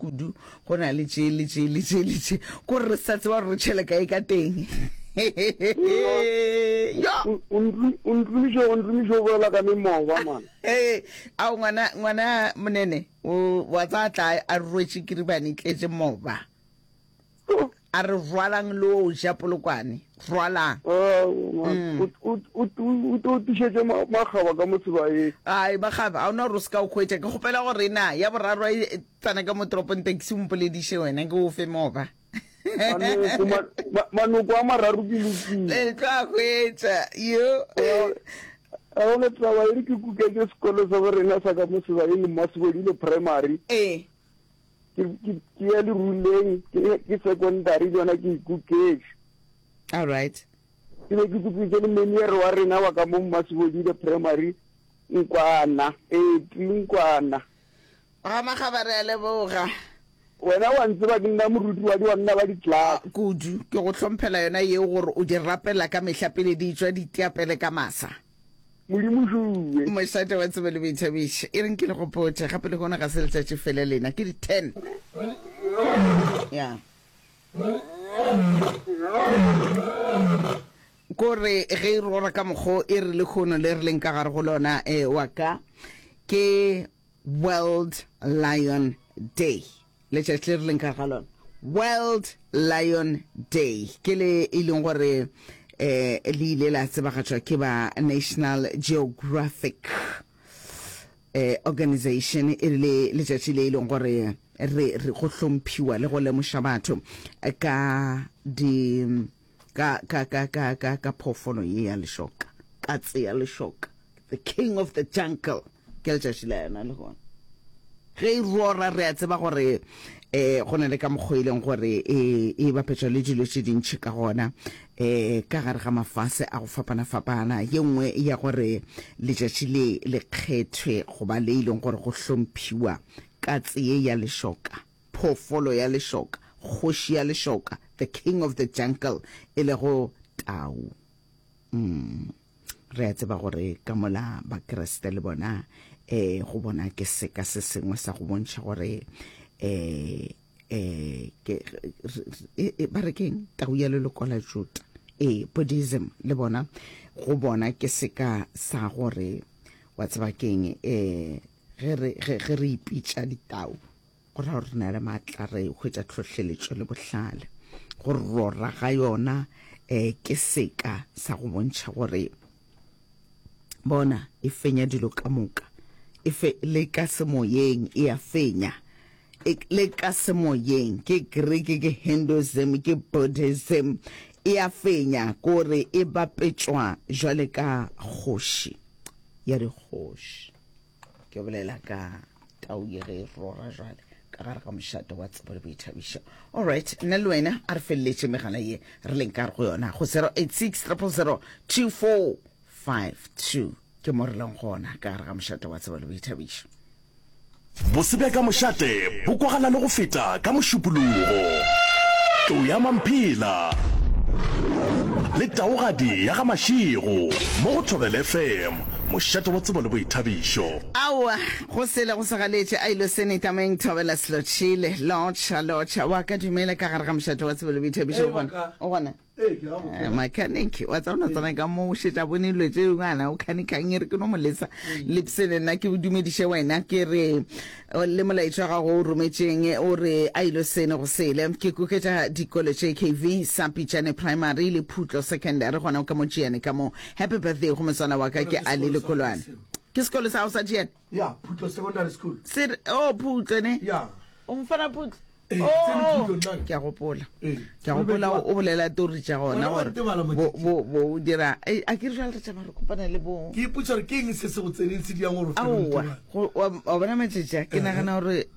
kudu go na le tše le tše le tše le tše ko re sa tseba gore re tšhele kae ka teng yo o ntlomiše o ntlomiše o bolela ka memoba man ee ao ngwana ngwana monene o wa tsa tla a rwetše kiribane tletše moba A re rwalang le o ja polokwane. Rwalang. Mm. O tlo tišetše makgaba ka mo sebaeng. Ai makgaba, a ona gore o se ka o hwetša. Ke kgopela gore na ya boraro e tsena ka mo toropong taxi o mpolediše wena ke o fe moba. Manoko a mararo ke lokile. Le tlo a hwetša. Yo. A gona taba e re ke kuketše sekolo sa borena sa ka mo sebaeng Mmasebodile Primary. Ee. Ke, ke, ke ya leruleng, ke, ke secondary le yona ke ikuketše. All right. Ke be ke kuketše le meniere wa rena wa ka mo Mmasebodile Primary, Nkwana, Eti Nkwana. Ga Makgaba re a leboga. Wena wa ntseba ke nna moruti wa diwanna ba di-class. Kudu. Ke go hlomphela yona yeo gore o di rapela ka mehla pele di tšwa di tiapele ka masa. Modimo šuwe. Mošate wa tsebo le boithabišo. E reng ke le gopotše gape lehono ga se letšatši fela lena ke di 10. Ya. Kore ge e rora ka mokgo e re lehono le re leng ka gare go lona e wa ka ke World Lion Day. Letšatši le re leng ka ga lona, World Lion Day, ke le e leng gore eh le ile la tsebagatšwa ke ba National Geographic eh organization e le letšatši le e leng gore re re go hlomphiwa le go lemoša batho ka di ka ka ka ka ka ka phoofolo ye ya lešoka, katse ya lešoka, the king of the jungle, ke letšatši la yona lehono. Ge e rora re a tseba gore eh go na le ka mokgwa e leng gore e e bapetšwa le dilo tše dintši ka gona eh ka gare ga mafase a go fapana-fapana. Ye nngwe ya gore letšatši le le kgethwe goba le e leng gore go hlomphiwa katse ye ya lešoka phoofolo ya lešoka, kgoši ya lešoka, the king of the jungle, e lego tau. Mm. Re a tseba gore ka mola Bakriste le bona eh go bona ke seka se sengwe sa go bontšha gore eh eh ke e, ba re keng tau ya leloko la Juda. Eh Buddhism le bona go bona ke seka sa gore wa tseba keng eh ge re ge ge re ipitša ditau Go ra gore re na le maatla, re hwetša tlhohleletšo le bohlale. Go rora ga yona um ke seka sa go bontšha gore bona e fenya dilo ka moka. E fe, le ka semoyeng e a fenya. E, le ka semoyeng, ke Greek, ke Hinduism, ke Buddhism, e a fenya, kore e bapetšwa jwale ka kgoši ya dikgoši. Ke bolela ka tau ye ge e rora jwale ka gare ga mošate wa tsebo le boithabišo. Alright, nna le wena a re feleletše megala ye re leng ka gare go yona go 086 000 2452 ke mo re leng gona ka gare ga mošate wa tsebo le boithabišo. Bose bja ka mošate bo kwagala le go feta ka Mošupologo. Tlou ya Mamphela le Taugadi ya ga Mashego mo go Thobela FM, mošate wa tsebo le boithabišo. Aowa, go sele go sa galetše, a ilo sene tameng Thobela Slotšhile, lotšha, lotšha, wa ka dumela ka gare ga mošate wa tsebo le boithabišo, o gona, o gona. Eh, mechanic wa tseba no tsena ka mo o šetša bone dilo tše ngwana o khanikang e re ke no mo lesa lepsene nna ke dumediše wena ke re le molaetša wa gago o rometšeng o re a ilo sene go sele ke kuketša dikolo tše kv sa pitšane primary le phutlo secondary gona ka mo tšiane ka mo happy birthday go motswana wa ka ke ali lekolwane ke sekolo sa gago sa tšiane ya phutlo secondary school se o oh, phutlo ne ya o mfana phutlo Oh, ke a gopola ke a gopola o bolela tori tša gona gore bo bo dira a ke re jale re tšama re kopana le bo ke ipotsa gore ke eng se se go tseneng se diang gore aowa wa bona matšatši a ke nagana gore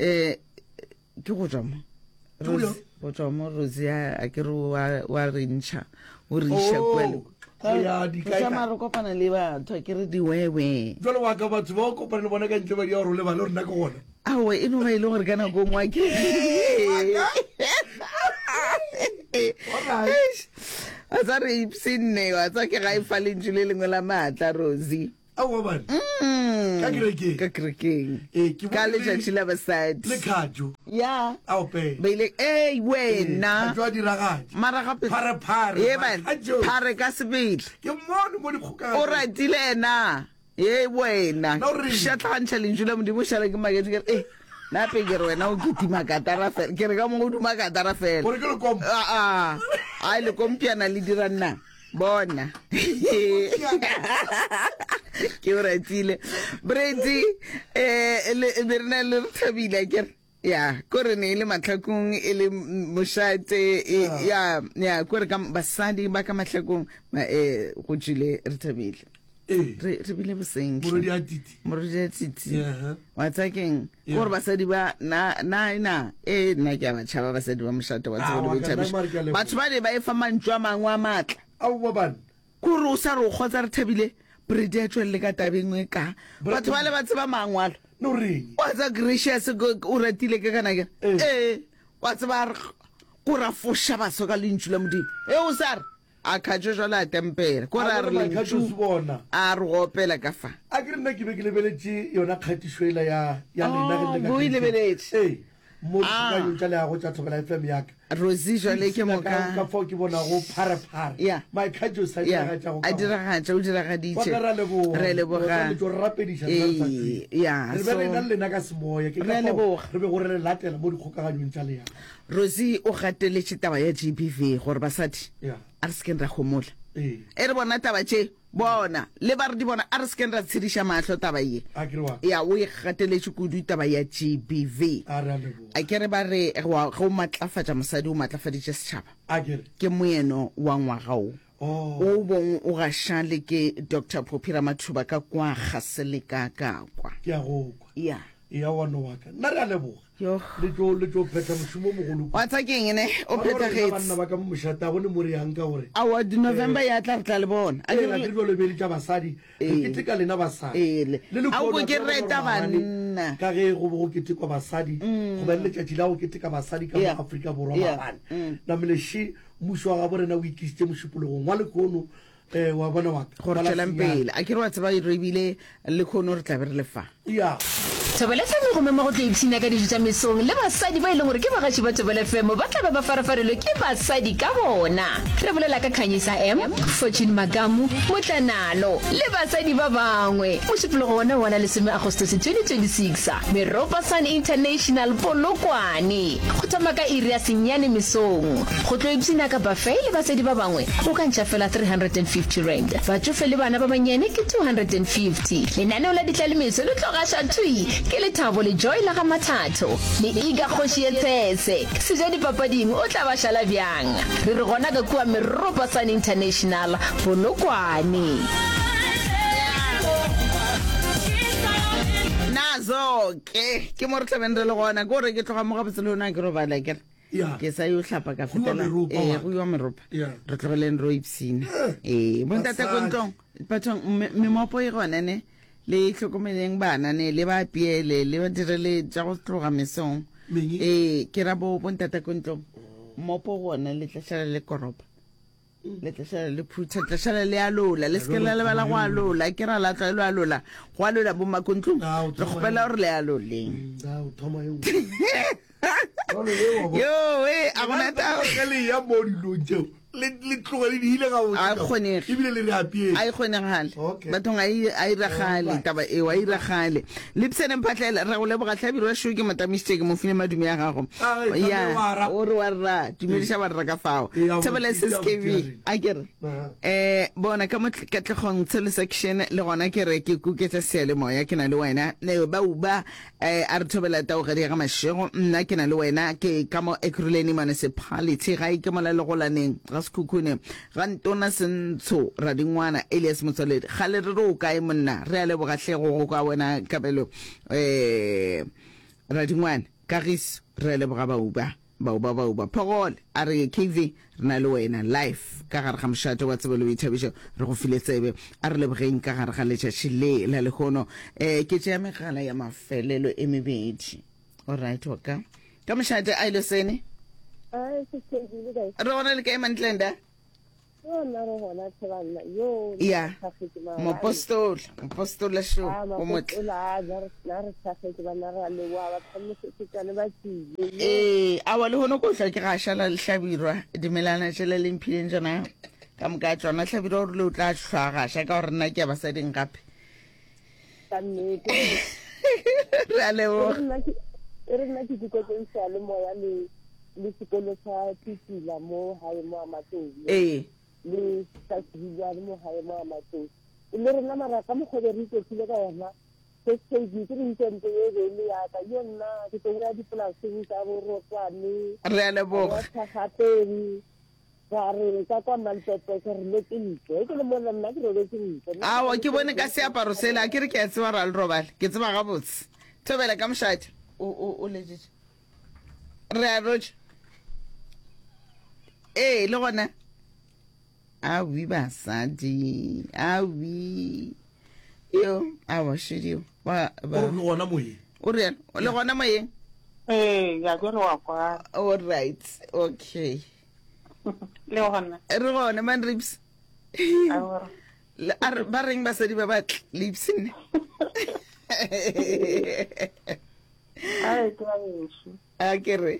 um ke go tswa mo go tswa mo Rosie a ke re wa re ntšha o re iša oh, kua le tsamaya re kopana le batho a ke re diwewe jalo wa ka batho ba o kopana le bona ka ntle ba di ya gore o lebale gore nna ke gona aowa e no ba e le gore ka nako nngwe ke wa tsa re ipsenne wa tsa ke ga e fa lentšu le lengwe la maatla Rosie. Aowa bane. Mm. Ka kerekeng. Ka kerekeng. Ee, ke Ka bone le- letšatši la basadi. Le Khajo. Ya. A opela. Ba ile, ei wena. Khajo a diragatša. Mara gape. Phare phare. Ye bane. Khajo. Phare ka sebele. Ke mmone mo dikgokaganyong. O ratile ena. Ye wena. Na o reng? Šatlagantšha lentšu la Modimo šala ke maketše ke re, eh. Nape ke re wena o kitima katara fela. Ke re ka mo o duma katara fela. Gore ke lekompo. A a. Ai lekompiana le dira nna. Bona. Ke o ratile. Brady eh le be re na le re thabile ke re. Ya, ko re ne e le mahlakong e le mošate e, ya ya ko re ka basadi ba ka mahlakong eh go tšwile re thabile. Ee. Re re bile boseng. Morodi a titi. Morodi a titi. Yeah. Wa tsaya keng? Yeah. Gore basadi ba na na na e nna ke a ba tšhaba basadi ba mošate wa Ah, tsebo le wa ka, nna boithabišo. mare ke a leboga. Batho ba ne ba e fa mantšu a mangwe a maatla. Aowa bana. Kore o sa re o kgotsa re thabile Brady a tšwelele ka tabeng e ka. Batho ba le ba tseba mangwalo. No reng? Wa tseba Gracious o ratile ke kana ke. Ee. Ee. Wa tseba a re ko ra foša baso ka lentšu la Modimo. E o sa re a khatšo jwale a tempela. Ko re a re lentšu a re go opela ka fa. A ke re nna ke be ke lebeletše yona kgatišo ela ya ya lena ge le le ka Oh, o e kerekeng. lebeletše. Ee. Mo Ah. dikgokanyong tša leago tša Thobela FM ya ka. Rosie jwale ke Ka- moka. Ka fao ke bonago pharephare. Yeah. Maikhatšo sa Yeah. diragatšago A ka gona. diragatša, o diragaditše. Wa ka ra leboga. Re a leboga. Re tlo re rapediša rena re sa Ee, tsebe. yeah, Re be so- re na le lena ka semoya. Ke Re ka a fao leboga. re bego re le latela mo dikgokaganyong tša leago. Rosie o gateletše taba ya GBV gore basadi Yeah. a re se keng ra homola. Ee. E re bona taba tše bona le ba re di bona a re se keng ra tshediša mahlo taba ye. A ke re wa. Ya o e gateletše kudu taba ya GBV. A re a leboga. A ke re ba re wa ge o matlafatša mosadi o matlafaditše setšhaba. A ke re. Ke moeno wa ngwaga wo. Oh. O bong o gaša le ke Doctor Phophi Ramathuba ka kwa Gaseleka ka kwa. Ke a go kwa. Ya. Eya wa no wa ka. Nna re a leboga. Yoh. Le tlo le tlo phetha mošomo o mogolo kudu. Wa tsa keng ne? O Wa bona gore rena phethagetše. banna ba ka mo mošate a bone mo re yang ka gore. Aowa di November ya tla re tla le bona. A Ee, ke a re ke jalo be le tša basadi. Re Ee. keteka lena basadi. Ee, le. Le A o lekhono ko a ke tseba gore reta maabane, banna. Ka ge go be go ketekwa basadi, go ba le letšatši la go keteka basadi ka mo Yeah. Afrika Borwa Yeah. maabane. Namile še mmušo wa gabo rena o itlišitše mošupologong wa lekhono Eh, wa bona wa ka. Gore Wa la tšwelang senyane. pele. A ke re wa tseba re ebile lekhono re tla be re le fa. Ya. Thobela FM e go mema go tlo ipshina ka dijo tša mesong le basadi ba e leng gore ke bagaši ba Thobela FM ba tla be ba farafarilwe ke basadi ka bona. Re bolela ka Khanyisa M, Fortune Makamu, Motlanalo le basadi ba bangwe. Mošupologo wona wa la lesome Agostose 2026, Meropa Sun International, Polokwane. Go thoma ka iri ya senyane mesong. Go tlo ipshina ka buffet le basadi ba bangwe o ka ntšha fela R350. Batšofe le bana ba bannyane ke R250. Lenaneo la ditlalemeso le tlo gaša thwi ke Lethabo le Joy la ga Mathatho le Iga Kgoši ye Tshese. Seja dipapading o tla ba šala bjang? Re re gona ka kua Meropa Sun International, Polokwane. Nazo ke ke mo re tlabeng re le gona ke gore ke tloga mo gabotse le yona ke robala ke re Ya. ke sa yo hlapa ka Go iwa fetela meropa, ee wa. go iwa meropa Ya. re tlogeleng ro ipshina ee bontate ko Basadi. ntlong bathong me- memopo e gona ne le hlokomeleng bana ne le ba apiele le ba direle tša go tloga mesong Meng? ee ke ra bo bontate ko ntlong mmopo gona le tla šala le koropa le tla šala le phutha le tla šala le alola le seke la lebala go alola ke ra la tlwaelo alola go alola bo makontlong Ah, o re thoma kgopela gore le aloleng Mm, ah, o thoma e nngwe. Jwale e wa bona. yo e a gona taba Ge le ya mo dilong tšeo le le tloge le di ile gabotse A e kgonege. ebile le re apiele a e kgonegale Okay. bathong a e a iragale Alright. taba eo a iragale lepsene mphatlhela re go leboga hlabirwa šo ke mo tamišitše ke mo file madume a gago Ah, e ya tlabe wa ra. o re wa rra dumediša wa rra ka fao Ee, a thobela botse, a sskv botse, a ke re Aha. um bona ka mo katlegong tshelo section le gona ke re ke kuketša seyalemoya ke na le wena Ne, ba uba um a re thobela taogadi ya ga mašego nna ke na le wena ke ka mo ekurhuleni municipality gae ke mola legolaneng ga sekhukhune ga ntona sentsho radingwana elias motswaledi kgale re re o kae monna re a leboga hle go go kwa wena kabelo um radingwana kagiso re a leboga bauba Bauba bauba Phogole a re KV re na le wena life ka gare ga mošate wa tsebo le boithabišo re go file tsebe a re lebogeng ka gare ga letšatši le la lehono eh ke tšea megala ya mafelelo e mebedi alright wa ka ka mošate a ile sene Ai, se ke le kae? re gona le kae mantlenda? Yo nna re gona tlhe banna. Yo Ya. nna re thakgetše maabane. Mopostola, mopostola šo, Ah, o motle. mapostola a na re na re thakgetše banna re a leboga ba phamosetšane ba tsile. Yo. Ee, awa le hono ko hlwa ke ga šala le hlabirwa dimelana tšela le mphileng tšona ka moka ya tšona. Hlabirwa o rile o tla hlwa gaša ka gore nna ke ya basading gape. Ka nnete. Re a leboga. E re nna ke e re nna ke dikoteng seyalemoya le le sekolo sa Tsitsila mo gae mo Amatlou. Ee. Le sa Sebijane mo gae mo Amatlou. Le rena mara ka mokgwa be re iketlile ka yona first aid ke re itse ye be le ya ka yo nna ke tlo ya dipolaseng tsa bo Rotwane. Re a leboga. Thagapeng. Ra re ka kwa Malpepe ke re letse ntle. Ke le mona nna ke robetse ntle. Awa ke bone ka seaparo sela a ke re ke a tseba ra le robale. Ke tseba gabotse. Thobela ka mošate. O o o letšetše. Re a rotša. Ee, le gona. Awi basadi. Awi. Yo, awa šedio. Ba ba. O re le gona moyeng. O re le gona moyeng. Ee, ya ke re wa kwa. All right. Okay. Le gona. Re gona man rips. Awa. A re ba reng basadi ba batle le ipshinne. Ai, ke ba bešo. A ke re.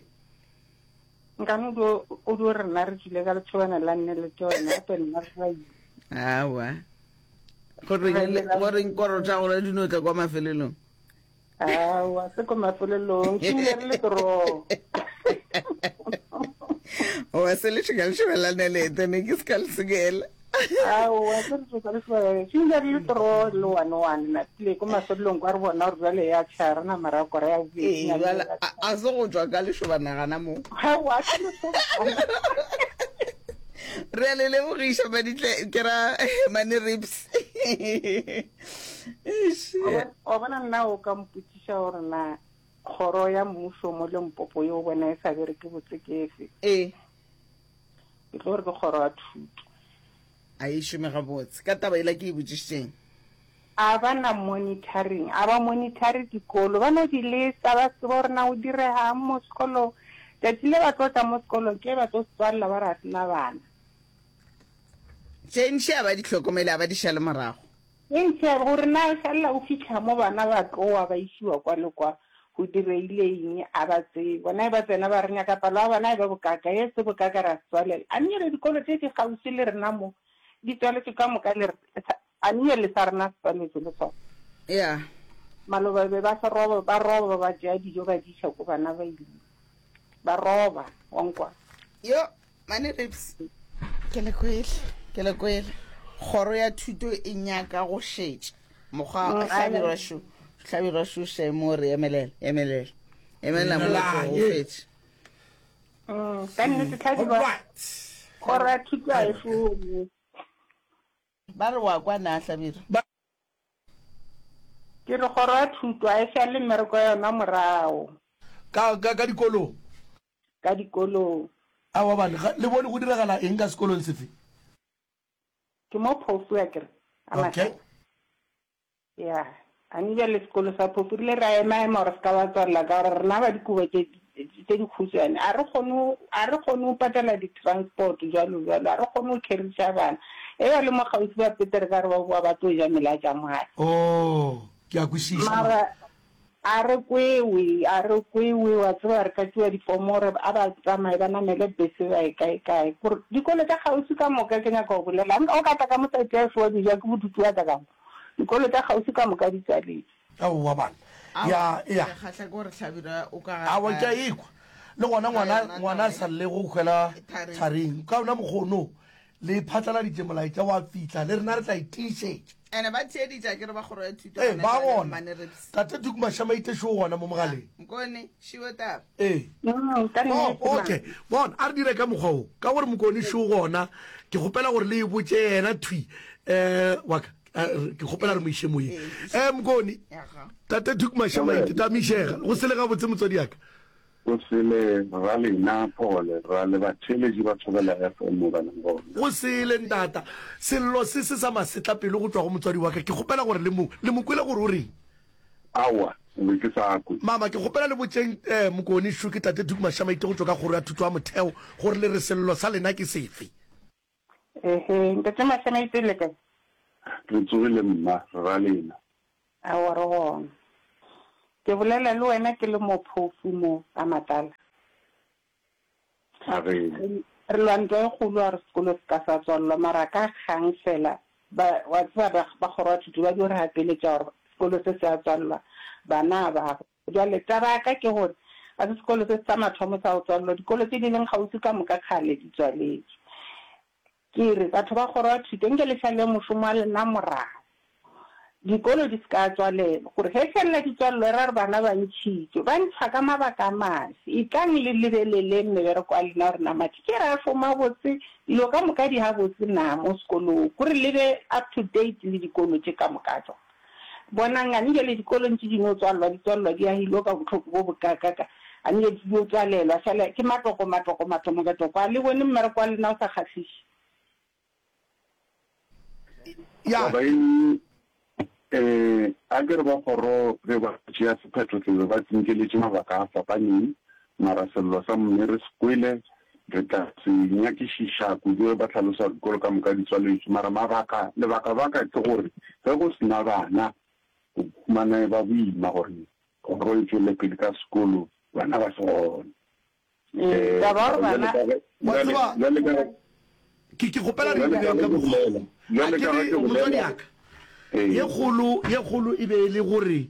Nkane o dio o dio re nna re tšwile ka letšhobana la nne le tšona, gape nna re ra ile. Awa. Go reng le go reng koro tša gore di no tla kwa mafelelong. Awa, se ko mafelelong, ke ile re le toro. Oa se le tšhika letšhoba la nelete ne ke se ka le sekela. Aowa, se re tšhoka le sebaka. Ke ile re le toro le one one na tlile ko mafelelong kwa re bona gore jwale ya tšha re nama ra kora ya bobedi. Ee, jwale a a se go tšwa ka lešoba nagana mo. Aowa, se lešoba. Re a le lebogiša Maditle ke ra Mane Rips. Eish. Wa bona nna o ka mpotšiša gore na kgoro ya mmušo mo Limpopo ye o bona e sa bereke botse ke efe? Ee. Ke tlo re ke kgoro ya thuto. A e šome gabotse. Ka taba yela ke e botšišitšeng. A ba na monitoring, a ba monitore dikolo, ba no di lesa, ba tseba gore na go diregang mo sekolong. Tšatši le ba tlo tla mo sekolong, ke ba tlo se tswalela ba re ga se na bana. Tše ntši a ba di hlokomele, a ba di šale morago. Eupša gore na o šalela o fihla mo bana ba tlowa ba išiwa kwa le kwa, go diregile eng, a ba tsebe. Bona e ba tsena ba re nyaka palo ya bana e be bokaka, ye se bokaka ra se tswalela. A nnyele dikolo tše di kgauswi le rena mo di tswaletšwe ka moka le re, a nnyele sa rena se tswaletšwe le sona. Ya. Maloba be ba se roba, ba roba ba tšea dijo ba di iša ko bana ba ile. Ba roba, wa nkwa. Yo, Mane Rips, ke le kwele, ke le kwele. Kgoro ya thuto e nyaka go šetša mokgwa Mm, hlabirwa šo, hlabirwa šo še mo re emelela, emelela. Emelela mo go Ye. fetše. Mm, ka nnete tlhadiba Alright. kgoro ya thuto a e šome. Ba re wa kwa na hlabirwa. Ke re kgoro ya thuto a e šale mmereko ya yona morago. Ka ka ka dikolong. Ka dikolong. Aowa bane, ga le bone go diragala eng ka sekolong sefe? Ke mo Phofu akere, a Okay. Mahlaba. Ya, a ne bjale sekolo sa Phofu rile ra ema-ema gore se ka ba tswalela ka gore rena ba dikobo tše tše dikhutshwane a re kgone a re kgone go patela di-transport jwalo jwalo, a re kgone go carry-ša bana. E ba le mo kgauswi ba Petere ka re ba boa ba tlo ja melatša mo gae. Oh, ke a kwešiša. Mara A re kwewe, a re kwewe, wa tseba re ka tšewa difomo gore a ba tsamaye ba namele bese ba ye kae kae. Gore dikolo tša kgauswi ka moka ke nyaka go bolela, o ka tla ka mo site ya ešo wa bija ke bodutu wa tla ka mo. Dikolo tša kgauswi ka moka di tswaletšwe. Aowa bana. Aowa, Ya, ya. ke kgahla ke gore Hlabirwa o ka gare Aowa, ga ke a ekwa. Le gona ka ngwana, yona ngwana taba a ye. sa llego o hwela Tharing. tharing. Ka ona mokgwa ono, le phatlaladitše molaetša wa fihla, le rena re tla e tiišetša. Ene ba theeditše akere ba kgoro ya thuto Ee, gona ba jwale gona. Mmane Rips. Tate Tuku Mashamaite šo o gona mo mogaleng. Mokone, šiwe taba. Ee. Mm, ka Oh, nnete, ma. okay. Bona, a re dire ka mokgwa wo. Ka gore Mokone šo gona, ke kgopela gore le e botše yena thwi. Eh, wa ka, eh, ke kgopela re mo iše moyeng. Eh, Mokone, Yaga. Tate Tuku Mashamaite, tamišega. Go sele gabotse motswadi ya ka. Go sele ra lena Paul, ra le batheeletši ba Thobela FM mo ba leng gona. Go sele ntata. Sello se se sa masetlapelo go tšwa go motswadi wa ka. Ke kgopela gore le mo, le mo kwele gore o reng. Aowa, ke be ke sa kwe. Mama, ke kgopela le botšeng eh, Mokone šo ke Tate Tuku Mashamaite go tšwa ka Kgoro ya Thuto ya Motheo gore le re sello sa lena ke sefe. Ehe, Ntate Mašamaite le kae? Re tsogile mma, re ra lena. Aowa re gona. Ke bolela le wena ke le mo phofu mo ga Matala. A re. Re lwa ntwa e kgolo a re sekolo se ka sa tswalelwa mara ka kgang fela ba wa tseba ba ba kgoro ya thuto ba dio re gapeletša gore sekolo se se a tswalelwa bana ba Bjale taba ya ka ke gore ga se sekolo se sa mathomo sa go tswalelwa, dikolo tše di leng kgauswi ka moka kgale di tswaletšwe. Ke re batho ba kgoro ya thuto nke le šale mošomo wa lena morago, dikolo di se ka tswalelwa, gore ge felela di tswalelwa e ra gore bana ba ntšhitšwe. Ba ntšhwa ka mabaka a mafe? Etlang le lebeleleng mebereko ya lena gore na mathitšhere a šoma botse, dilo ka moka di gabotse na mo sekolong, gore le be up to date le dikolo tše ka moka tšona. Bonang, a nke le dikolong tše di no tswalelwa, di tswalelwa di agilwe ka bohloko bo bokakaka, a nke di yo tswalelwa, fela ke matoko, matoko, mathomo ka toko. A le bone mmereko wa lena o sa kgahliše? Ya. Taba ye, eh, a ke re ba kgoro ge ba tšea sephetho se be ba tsinkeletše mabaka a fapaneng, mara sello sa mme re se kwele, Re tla se nyakišiša kudu ge ba hlalosa gore dikolo ka moka di tswaletšwe. Mara mabaka, lebakabaka ke gore ge go se na bana, o humana e ba boima gore kgoro e tšwele pele ka sekolo bana ba se gona. Ee, taba ya gore Bjale bana. ka ge, Wa bjale, tseba, bjale ka ge, ke, ke kgopela re bjale ka direng ge ka ke mokgwa bolela, wo. A bjale ke ka ge re, ke motswadi bolela, ya ka, ye ee. kgolo, ye kgolo e be e le gore,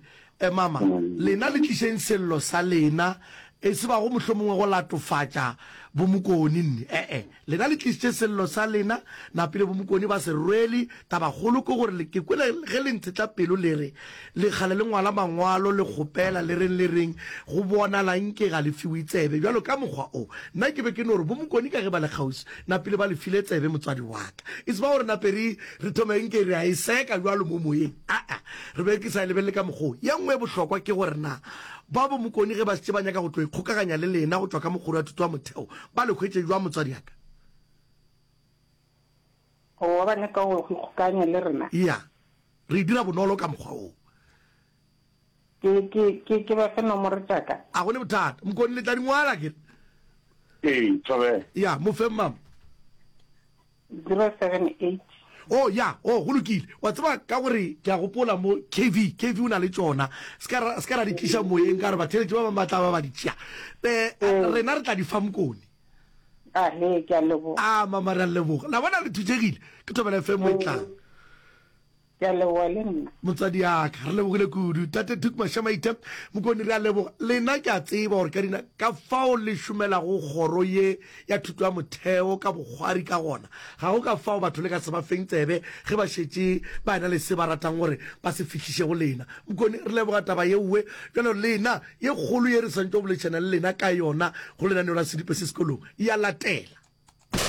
eh, mama, lena le tlišeng sello sa lena, e se bago mohlomongwe go latofatša boMokoni, nne, e-e. Lena le tlišitše sello sa lena, napile boMokoni ba se rwele. Tabakgolo ke gore le, ke kwele ge le ntshetla pelo le re, le kgale le ngwala mangwalo, le kgopela, le reng le reng, go bonala nke ga le fiwe tsebe. Bjalo ka mokgwa o, nna ke be ke no re boMokoni ka ge ba le kgauswi, napile ba le file tsebe motswadi wa ka. E se ba gore nape re, re thome nke re a e seka bjalo mo moyeng, aa, re be ke sa e lebelele ka mokgwa wo. Ye nngwe e bohlokwa ke gore na ba boMokoni ge ba šetše ba nyaka go tlo ikgokaganya le lena go tšwa ka mokgoro ya thuto ya motheo, ba le hwetše bjang motswadi ya ka? Goba ba nyaka go ikgokaganya le rena? Ya, re e dira bonolo ka mokgwa woo. Ke, ke, ke, ke ba fe nomoro tša ka? A go ne bothata. Mokoni, le tla di ngwala, ke re. Ee, thobela. Ya, mo feng, mama. 078. Oh, ya, oh, go lokile. Wa tseba, ka gore ke a gopola mo, KV, KV o na le tšona. Se ka ra, se ka ra di tliša moyeng, ka gore batheeletši ba bangwe ba tla ba ba di tšea. Eh, rena re tla di fa Mokoni. A he, ke a leboga. A, mama, re a leboga. La bona re thutšegile. Ke Thobela FM mo e tlang. Ke a leboga le nna. Motswadi ya ka, re lebogile kudu. Tate Tuku Mashamaite, Mokoni re a leboga. Lena ke a tseba gore ka dina ka fao le šomelago kgoro ye ya thuto ya motheo ka bokgwari ka gona. Ga go ka fao batho le ka se ba feng tsebe ge ba šetše ba ena le se ba ratang gore ba se fihliše go lena. Mokoni, re leboga taba yeowe. Bjalo lena, ye kgolo ye re swantšego go boledišana le lena ka yona go lenaneo la Sedipe se Sekolong, ya latela.